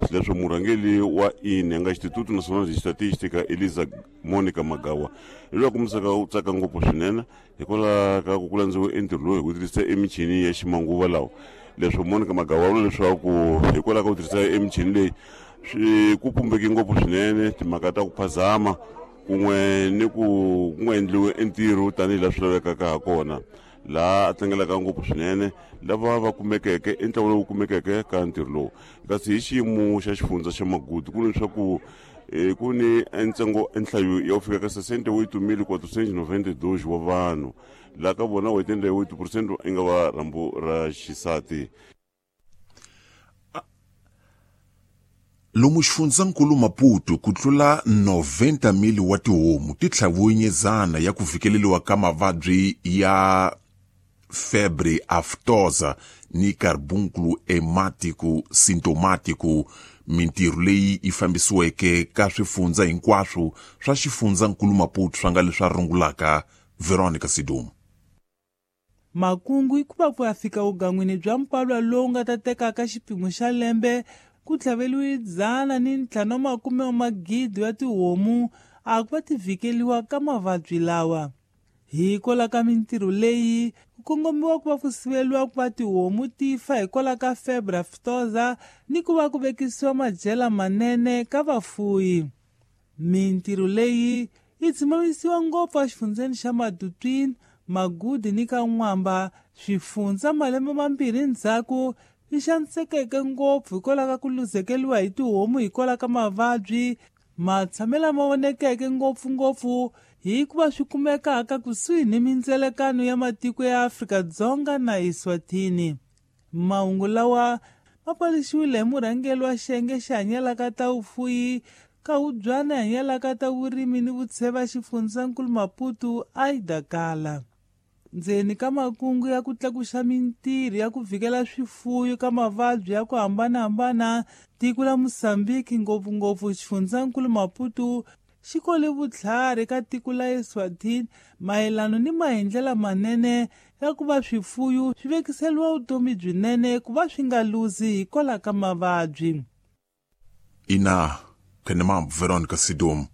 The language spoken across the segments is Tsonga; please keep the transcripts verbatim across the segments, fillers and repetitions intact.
Xileswo murhangeri wa I N E, nga Instituto Nacional de Estatística, Elisa Monica Magawa, hi loyi a kombisaka u tsaka ngopfu swinene hikwalaho ka ku ku landziwe entirho lowu hi ku tirhisa emichini ya ximanguva lawa. Leswo Monica Magawa vula leswaku hikwalaho ka ku tirhisa emichini leyi swi ku pumbeke ngopfu swinene timhaka ta ku phazama kun'we ni ku ku nga endliwi entirho tanihi laha swi lavekaka ha kona, laha a tlangelaka ngopfu swinene lava va kumekeke i ntlawa lowu kumekeke ka ntirho lowu. Kasi hi xiyimo xa xifundza xa Magudu, ku leswaku eh, ku ni ntsengo nhlayo ya ku fika ka sessenta e oito mil quatrocentos e noventa e dois wa vanhu, laha ka vona oitenta e oito por cento i nga va rhambu ra xisati. Lomu xifundzankulu Maputo, ku tlula noventa mil wa tihomu ti tlhaviwe nyezana ya ku fikeleliwa ka mavabyi ya febre aftosa ni carbúnculo hemático sintomático. Mintirho leyi yi fambisiweke ka swifundza hinkwaswo swa xifundzankulu Maputo, swa nga leswi a rungulaka Veronica Sidum. Makungu i ku va ku ya fika vugan'wini bya mpalwa lowu nga ta tekaka xipimo xa lembe ku tlhaveliwe dzana ni ntlhanu wa makume wa magidi ya tihomu a ku va ti vhikeliwa ka mavabyi lawa. Hikwalaho ka mintirho leyi ku kongomiwa ku va ku siveliwa ku va tihomu ti fa hikwalaho ka febre aftosa ni ku va ku vekisiwa madyela manene ka vafuyi. Mintirho leyi yi tshimamisiwa ngopfu exifundzeni xa Matutuine, Magudi ni ka N'wamba, swifundza malembe mambirhi ndzhaku swi xanisekeke ngopfu hikwalaho ka ku luzekeriwa hi tihomu hikwalaho ka mavabyi matshamelo lama vonekeke ngopfungopfu hikuva swi kumekaka kusuhi ni mindzelekano ya matiko ya Afrika-Dzonga na Eswatini. Mahungu lawa ma paluxiwile hi murhangeri wa xiyenge xi hanyelaka ta vufuyi ka hubyana hanyelaka ta vurimi ni vutsheva xifundzankulu Maputo, Aida Kala. Ndzeni ka makungu ya ku tlakuxa mintirho ya ku vhikela swifuyo ka mavabyi ya ku hambanahambana, tiko la Mosambiki, ngopfungopfu xifundzankulu Maputo, xi kole vutlhari ka tiko la Eswatini mayelano ni maendlela manene ya ku va swifuyo swi vekiseliwa vutomi byinene ku va swi nga luzi hikwalaho ka mavabyi. Ina khenemambu Veronica Sidum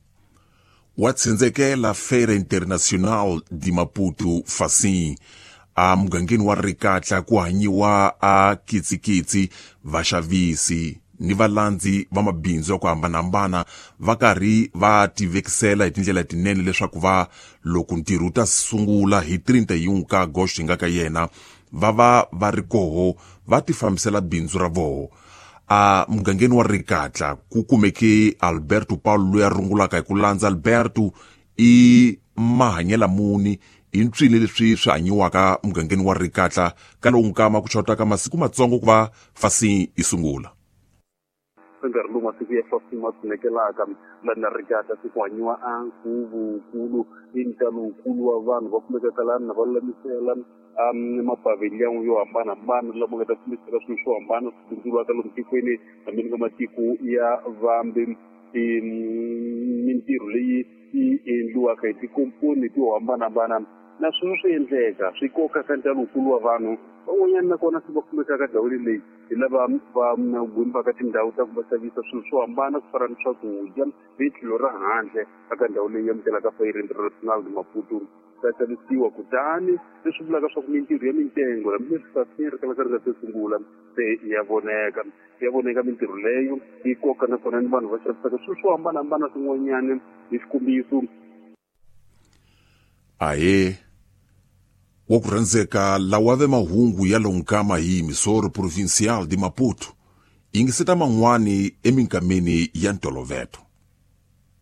wa tsindzekela Feira Internacional de Maputo Facim a mugangeni wa Rikatla ku hanyiwa a kitsikitsi, vaxavisi ni valandzi va mabindzu ya ku hambanahambana va karhi va tivekisela hi tindlela tinene leswaku va loko ntirho wu ta sungula hi trinta e um ka agosto hi nga ka yena va va va ri koho va tifambisela bindzu ra voho. A mugangeni wa Rikatla ku kumeke Alberto Paulo loyi a rungulaka hi ku landza. Alberto, i mahanyela muni i ntswini leswi swi hanyiwaka mugangeni wa Rikatla ka lowu nkama ku xotaka masiku matsongo ku va fasi yi sungula? Nkarhi lowu masiku ya fifteen ma tshunekelaka lani Rikatla, se ku hanyiwa a nkhuvo-wukulu i ntalo wukulu wa vanhu va kumekaka lani na va lulamisela um mapavillon yo hambanahambana lama nga ta kumisela swilo swo hambana swi bindzuriwaka lomu tikweni hambi ka matiko ya vambe. Mintirho leyi yi endliwaka hi tikomponi to hambanahambana na sweswo swi endleka swi koka ka ntalo wukulu wa vanhu van'wanyana, nakona se va kumekaka ndhawini leyi hi lava va gwimbaka tindhawu ta ku va xavisa swilo swo hambana ku fana ni swakudya hi tlhelo ra handle eka ndhawu leyi amukelaka Feira Internacional de Maputo ta xavisiwa. Kutani leswi vulaka swa ku mintirho ya mitengo, hambileswi kasi ri kalaka ri nga se sungula, se ya voneka ya voneka mintirho leyo yi koka nakona ni vanhu va xavisaka swilo swo hambanahambana swin'wanyana, hi xikombiso. Ahe, wa ku rhandzeka, lawa ve mahungu ya lonkama hi Emissora Provincial de Maputo. Yingiseta man'wani eminkameni ya ntoloveto.